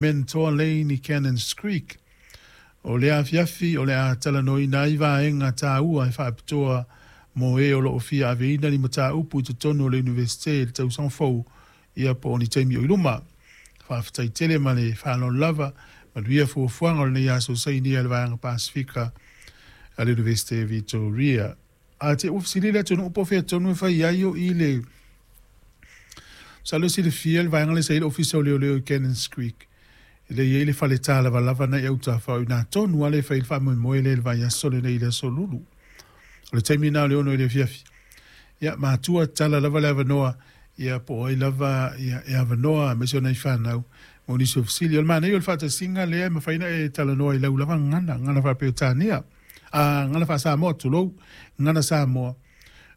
Mentor Lane i Cannons Creek. O lea afiafi o le a talanoaina ai vaega taua e faapitoa mo e o lo o fia aveina ni mataupu i totonu o le Iunivesite i le tausaga fou ia po o ni taimi o i luma. Faafetai tele ma le faaaloalo lava. Manuia fuafuaga o lenei aso sainia e le Vaega Pasefika a le Iunivesite Victoria. A te ua fesili le atunuu po o fea tonu e fai ai o i le Masalo e silafia le vaega lea sa i ai le Ofisa o Leoleo i Cannons Creek, lea e i ai le fale talavalava na i autafa, o i ina tonu lava lea e fai ai le faamoemoe lea i le vaiaso lenei i le Aso Lulu. O le taimi lena o le 6 i le afiafi. Ia, matua tatala lava le avanoa, ia po o ai lava ia, e avanoa aemaise o nai fanau mo nisi o fesili. O le manaia o le faatasiga lea e mafai ona e talanoa i lau lava gagana, gagana faa-Peretania, a, gagana faa-Samoa, tulou, gagana Samoa.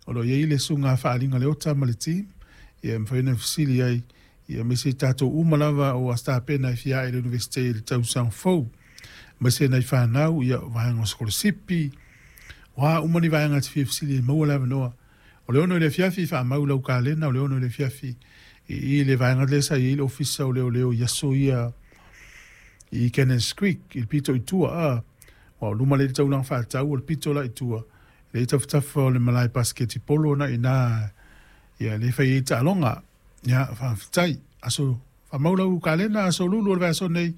O lo o i ai le susuga Faaliga Leota ma le team ia e mafai ona fesili ai ia aemaise i tatou uma lava ua tapena e fia ae i le Iunivesite i le tausaga fou aemaise nai fanau ia vaega o sikolasipi o a uma ni vaega e te fia fesili e maua le avanoa. O le 6 i le afiafi faamau i lau kalena o le 6 i le afiafi i i le vaega lea sa i ai le Ofisa o Leoleo i aso ia i Cannons Creek i le pito i tua a aua o luma lea i le taulaga faatau o le pito la i tua Lea i tafatafa o le malae pasiketi polo na ina ia lea fai ai taaloga. Ia faafetai. Aso faamau lau kalena aso lulu o le vaiaso nei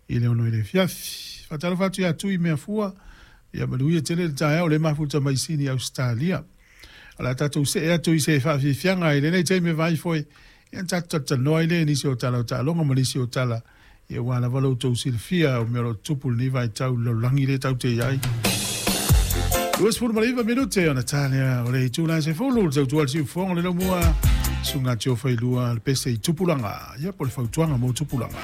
i le 6 i le afiafi. Faatalofa atu ia Tui Meafua, ia manuia tele le taeao o lea mafuta mai Sini Ausetalia. O le a tatou see atu i se faafiafiaga i lenei taimi e vaai foi ia ona tatou talatalanoa ai lea i nisi o tala o taaloga ma nisi o tala Ia ua lava lo outou silafia o mea o lo o tutupu i lenei vaitau i le lalolagi lea tatou te i ai. 29 minute ona ta lea o le itula e 10 le tautua a le siufofoga o le laumua susuga Tio Failua le pese i tupulaga ia po o le fautuaga mo tupulaga.